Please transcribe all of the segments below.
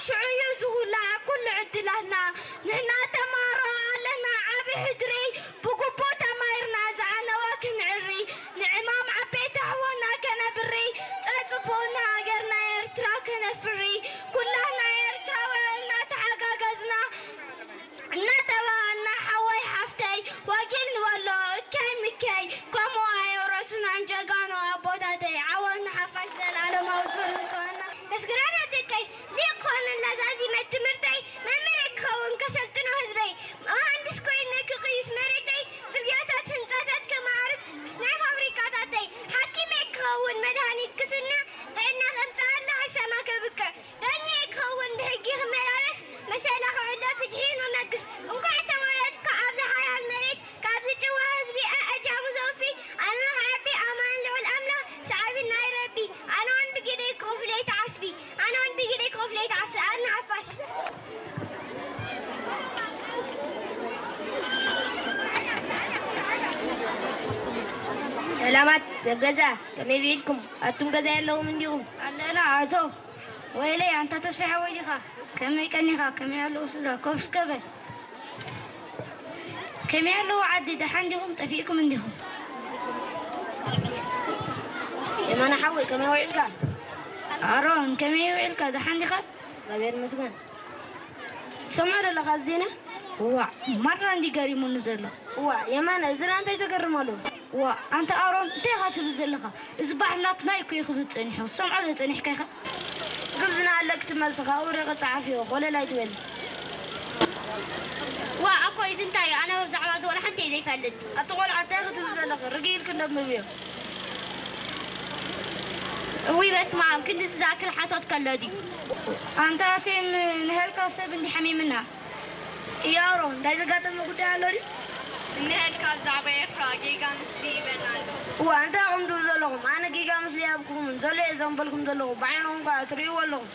ሽዑ እዩ ዝኹላዕ ኩሉ ዕድላትና። ንሕና ተማሃሮ ኣለና ዓቢ ሕድሪ፣ ብግቡእ ተማሂርና ዝዓነወ ክንዕሪ። ንዕማም ዓበይቲ ኣሕዋትና ከነብሪ፣ ጸጽቡቕ ንሃገርና ኤርትራ ከነፍሪ። ኩላትና ኤርትራውያን እናተሓጋገዝና፣ እናተባሃልና ሓወይ ሓፍተይ ወጊል ንበሎ እከይ ምከይ። ከምኡ ኣየውረሱናን ጀጋኑ ኣቦታተይ። ዓወት ንሓፋሽ ዘላለማዊ ጽኑዕ ስዋና። መስግናና ደቀይ ሊቅ ክኾነላ ዛዚመ ትምህርተይ መምህረይ ክኸውን ከሰልጥኖ ህዝበይ መሃንድስ ኮይነ ክቕይስ መሬተይ ጽርግያታት ህንጻታት ከማዕርግ ምስ ናይ ፋብሪካታተይ ሓኪመይ ክኸውን መድሃኒት ክስንዕ ጥዕና ከምጽኣላ ሕሰማ ከብቅዕ ዳኛ ክኸውን ብሕጊ ክመላለስ መሰላ ክዕሎ ፍትሒ ንነግስ። እንኳዕ ተወለድካ ኣብዚ ሓላል መሬት ካብዚ ጭዋ ህዝቢ ኣእጃሙ ዘውፊ ኣምላኽ ዓቢ ኣማን ልዑል ኣምላኽ ሰዓቢ ናይ ረቢ። ኣነ ውን ብግደይ ክኸፍሎ ይትዓስቢ ኣነ ውን ብግደይ ክኸፍሎ ይትዓስቢ ኣነ ሓፋሽ። ሰላማት ሰብ ገዛ ከመይ ውዒልኩም? ኣቱም ገዛ የለኹም እንዲኹም? ኣለና ኣቶ ወይለይ ኣንታ ተስፋ ሓወይ ዲኻ? ከመይ ቀኒኻ? ከመይ ኣለዉ ስድራ? ኮፍ እስከ በል። ከመይ ኣለዉ ዓዲ? ደሓን ዲኹም? ጠፊእኩም እንዲኹም? የማነ ሓወይ ከመይ ውዒልካ? ኣሮን ከመይ ውዒልካ? ደሓን ዲኻ? እግዚኣብሔር ይመስገን። ትሰምዖ ዶ ኣለኻ እዚ ዜና? ዋእ ማራ እንዲ ገሪሙኒ ዘሎ። ዋእ የማነ እዚ ደኣ እንታይ ዘገርም ኣሎ? ዋእ ኣንታ ኣሮን እንታይ ኢኻ ትብል ዘለኻ? እዚ ባሕሪ ናትና እዩ እኮ እዩ ክብል ጸኒሑ። ትሰምዖ ዶ ጸኒሕካ ኢኻ? ግብዝና ኣለኪ ትመልሲ ካብኡ ርኢኺ ጸሓፍዮ ኮለል ኣይትበሊ። ዋእ ኣኮይ እዚ እንታይ እዩ? ኣነ ብዛዕባ እዚ ዋላ ሓንቲ እየ ዘይፈልጥ። ኣቲ ቆልዓ እንታይ ኢኺ ትብሊ ዘለኺ? ርግእ ኢልኪ እንዶ ኣንብብዮ። እውይ በስመኣብ ክንድዚ ዝኣክል ሓሶት ከሎ ድዩ? ኣንታ ኣሴም ንሀልካ ሰብ እንዲ ሓሚምና። እያሮ እንታይ ዘጋጠመ ጉዳይ ኣሎ ድዩ? ንሀልካ ብዛዕባ ኤርትራ ጌጋ ምስሊ ይበና ኣሎ። እዋ እንታይ ኢኹም ትብሉ ዘለኹም? ኣነ ጌጋ ምስሊ ኣይሃብኩምን ዘሎ እየ ዘንበልኩም ዘለኹ ብዓይንኹም ከኣ ትርእይዎ ኣለኹም።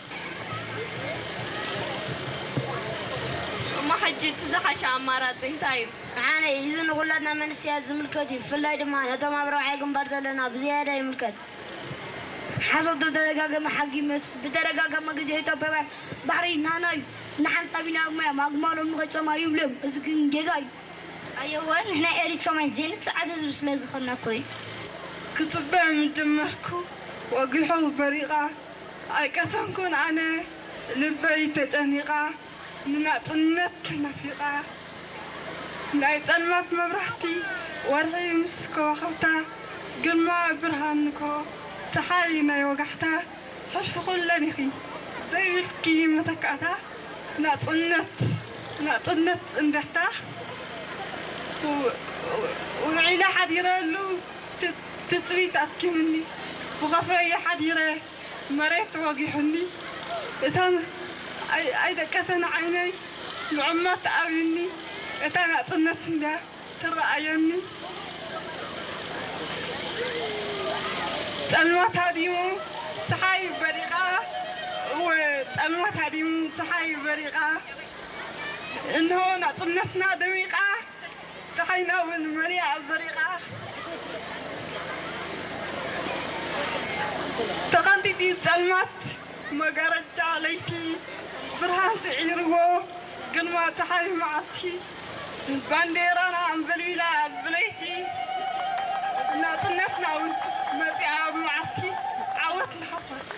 እሞ ሕጂ እቲ ዝሓሸ ኣማራጺ እንታይ እዩ? ደሓነይ፣ እዚ ንኹላትና መንእሰያት ዝምልከት እዩ፣ ብፍላይ ድማ ነቶም ኣብ ራብዓይ ግንባር ዘለና ብዝያዳ ይምልከት። ሓሶት ዝተደጋገመ ሓቂ ይመስል። ብተደጋጋሚ ግዜ ኢትዮጵያውያን ባሕሪ ናህና እዩ፣ ንሓንሳብ ኢና እሞ እዮም ኣግማሎም ንኸይጸምኡ ይብሉ እዮም። እዚ ግን ጌጋ እዩ። ኣየወ፣ ንሕና ኤሪትራውያን ዘይንጸዓድ ህዝቢ ስለ ዝኾንና እኮ እዩ። ክጽበ ምጀመርኩ ወጊሑ በሪቓ ኣይቀተንኩን ኣነ ልበይ ተጨኒቓ ንናጽነት ተናፊቓ ናይ ጸልማት መብራህቲ ወርሒ ምስ ከዋኽብታ ግርማ ብርሃንኮ ጸሓይ ናይ ወጋሕታ ሕልፊ ኩለን ኢኺ ዘይብልኪ መተካእታ ናጽነት ናጽነት እንደታ ውዒለ ሓዲረሉ ትጽቢት ኣትኪምኒ ብኸፈየ ሓዲረ መሬት ወጊሑኒ እተን ኣይደቀሰን ዓይነይ ንዕመት ኣብዩኒ እታ ናጽነት እንድያ ትረኣየኒ ጸልማት ሃዲሙ ጸሓይ በሪቓ እወ ጸልማት ሃዲሙ ጸሓይ በሪቓ እንሆ ናጽነትና ደሚቓ ጸሓይና እውን መሊኣ በሪቓ ተቐንጢጢ ጸልማት መጋረጃ ለይቲ ብርሃን ስዒርዎ ግርማ ጸሓይ መዓልቲ ባንዴራና ኣንበልቢላ ብለይቲ ናጽነትና እውን መጺኣ ብመዓልቲ ዓወት ንሓፋሽ።